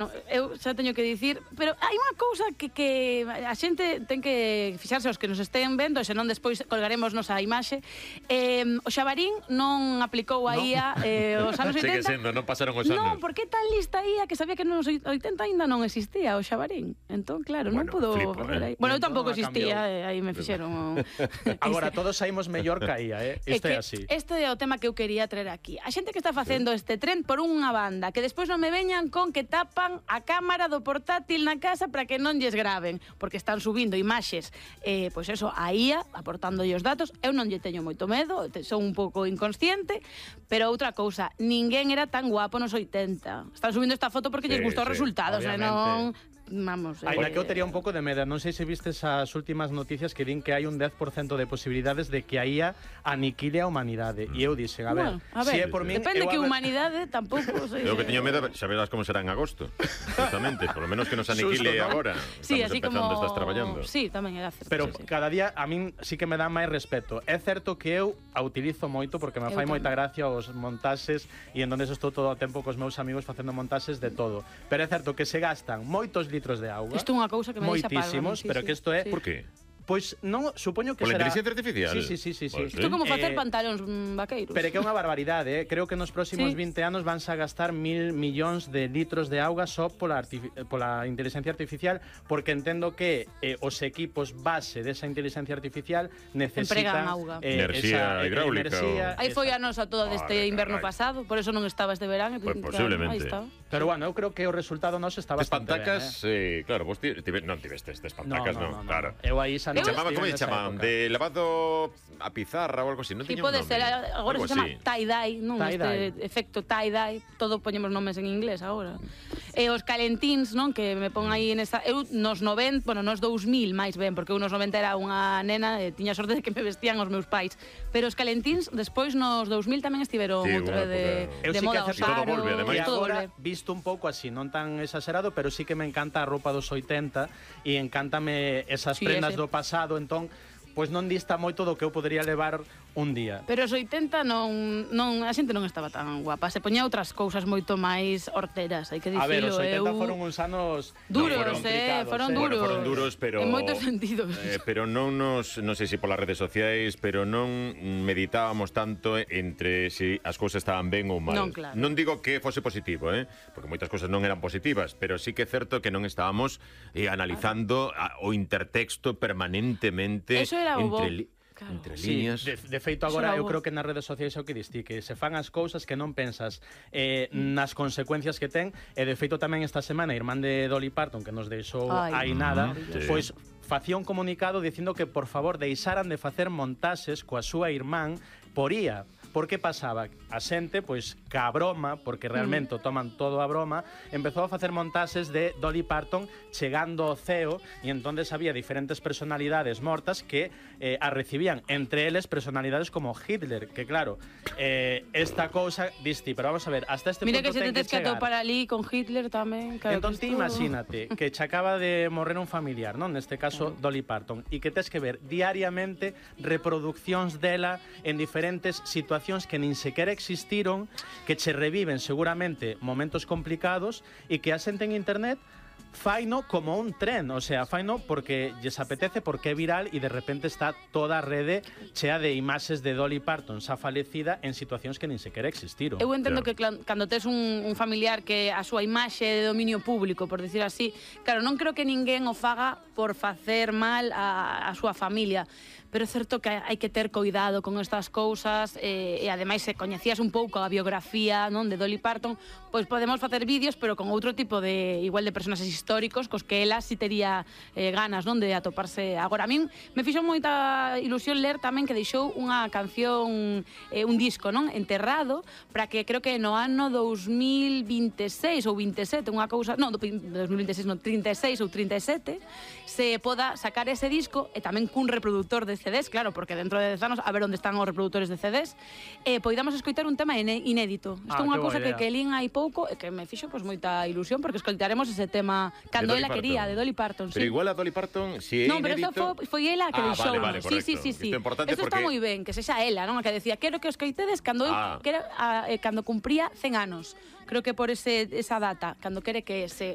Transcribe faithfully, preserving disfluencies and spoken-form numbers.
No, eu xa teño que dicir, pero hai unha cousa que, que a xente ten que fixarse os que nos estén vendo, senón despois colgaremosnos a imaxe. Eh, o Xabarín non aplicou a I A no. eh, os anos oitenta. Segue sendo, non pasaron os anos. Non, porque tan lista I A que sabía que nos oitenta aínda non existía o Xabarín. Entón, claro, bueno, non pudo flipo, facer aí. eh? Bueno, eu tampouco existía, eh, aí me fixeron. Agora, todos saímos mellor que a I A, eh? Isto é, é así. Este é o tema que eu quería traer aquí. A xente que está facendo sí. este tren por unha banda, que despois non me veñan con que tapan a cámara do portátil na casa para que non lles graven, porque están subindo imaxes, eh, pois eso, a I A, aportándolle os datos. Eu non lle teño moito medo, son un pouco inconsciente, pero outra cousa, ninguén era tan guapo nos oitenta. Están subindo esta foto porque sí, lles gustou sí, os resultados, e non... Vamos, eh, Ainda que eu tería un pouco de medo, non sei se vistes as últimas noticias que din que hai un dez por cento de posibilidades de que a I A aniquile a humanidade. E eu dixen, a ver, bueno, a ver, si é por min... depende que ver... humanidade tampouco... Eu que teño medo, xa verás como será en agosto. Justamente, por lo menos que nos aniquile Susto, ¿no? agora. Sí, Estamos así empezando, como... estás traballando. Sí, tamén é certo. Pero sí, sí. cada día a min sí que me dá máis respeto. É certo que eu a utilizo moito porque me fai moita gracia os montaxes e en donde estou todo o tempo cos meus amigos facendo montaxes de todo. Pero é certo que se gastan moitos litros de auga. Isto é unha cousa que me deixa palma. Moitísimos, pero que isto é... Por qué? Pois non, supoño que será... será... Por la inteligencia artificial? Sí, sí, sí, sí, sí. Isto é como facer eh, pantalóns vaqueiros. Pero que é unha barbaridade, eh? Creo que nos próximos sí. vinte anos vanse a gastar mil millóns de litros de auga só pola, pola inteligencia artificial, porque entendo que eh, os equipos base desa inteligencia artificial necesitan... auga. Eh, enerxía esa, hidráulica. O... Aí foi a nosa toda deste inverno pasado, por eso non estaba este verán. Pues posiblemente. Pero bueno, eu creo que o resultado noso está bastante Espantacas, ben, eh? eh, claro, vos tive, non tivestes espantacas, no, no, no, no, claro. Eu aí xa non chamaba, como chamaban? De lavado a pizarra ou algo así, non sí, tiña un pode nome. ser, agora se chama tie-dye, non? Tie este efecto tie-dye, todo poñemos nomes en inglés agora. E os calentíns, non? Que me pon aí en esa... Eu nos noventa, bueno, nos dous mil máis ben, porque eu nos noventa era unha nena e tiña sorte de que me vestían os meus pais. Pero os calentíns, despois nos dous mil tamén estiveron sí, outra de, de sí moda, os aros... Todo volve, ademais. E agora, visto un pouco así, non tan exagerado, pero sí que me encanta a roupa dos oitenta e encántame esas sí, prendas ese. do pasado, entón... Pois non dista moito do que eu podería levar un día. Pero os oitenta non, non, a xente non estaba tan guapa. Se poñía outras cousas moito máis horteras, hai que dicilo. A ver, os oitenta eu... foron uns anos... Duros, no, foron eh, foron eh. duros. Bueno, foron duros, pero... En moitos sentidos. Eh, pero non nos, non sei se polas redes sociais, pero non meditábamos tanto entre se si as cousas estaban ben ou mal. Non, claro. Non digo que fose positivo, eh, porque moitas cousas non eran positivas, pero sí que é certo que non estábamos eh, analizando a, o intertexto permanentemente entre... Claro. Entre líneas. Sí, de, de feito agora eu creo que nas redes sociais é o que distí, que se fan as cousas que non pensas eh, nas consecuencias que ten, e de feito tamén esta semana a irmán de Dolly Parton, que nos deixou aí nada, sí. Pois facía un comunicado dicindo que por favor deixaran de facer montaxes coa súa irmán por I A. Por que pasaba? A xente, pois, ca broma, porque realmente mm. toman todo a broma, empezou a facer montaxes de Dolly Parton chegando ao ceo, e entonces había diferentes personalidades mortas que eh, a recibían, entre eles personalidades como Hitler, que claro, eh, esta cousa diste, pero vamos a ver, hasta este Mira punto que se ten te que tens que chegar. atopar ali con Hitler tamén. Claro, entón, ti imagínate que che acaba de morrer un familiar, non? Neste caso, claro. Dolly Parton, e que tes que ver diariamente reproduccións dela en diferentes situacións que nin sequera existiron, que che reviven seguramente momentos complicados e que a xente en internet faino como un tren, o sea, faino porque lles apetece, porque é viral e de repente está toda a rede chea de imaxes de Dolly Parton xa falecida en situacións que nin sequera existiron. Eu entendo claro. que cando tes un, un familiar que a súa imaxe é de dominio público, por decir así, claro, non creo que ninguén o faga por facer mal a, a súa familia, pero é certo que hai que ter cuidado con estas cousas, e, e ademais se coñecías un pouco a biografía, non, de Dolly Parton, pois podemos facer vídeos pero con outro tipo de, igual de personaxes históricos cos que ela si tería eh, ganas, non, de atoparse. Agora, a min me fixo moita ilusión ler tamén que deixou unha canción, eh, un disco, non, enterrado, para que creo que no ano dous mil vinte e seis ou vinte e sete, unha cousa, non, dous mil vinte e seis, non, trinta e seis ou trinta e sete, se poda sacar ese disco, e tamén cun reproductor de C Ds, claro, porque dentro de dez anos a ver onde están os reproductores de C Ds, e poidamos escoitar un tema inédito. Isto é ah, unha cousa que, idea. que lín hai pouco e que me fixo pois moita ilusión, porque escoitaremos ese tema tema cando ela quería, de Dolly Parton. Pero igual a Dolly Parton, si é non, pero isto foi ela que deixou. Ah, vale, vale, correcto. Sí, sí, sí. Isto é importante porque... está moi ben, que sexa ela, non? A que decía, quero que os coitedes cando cando cumpría cen anos. Creo que por ese, esa data, cando quere que se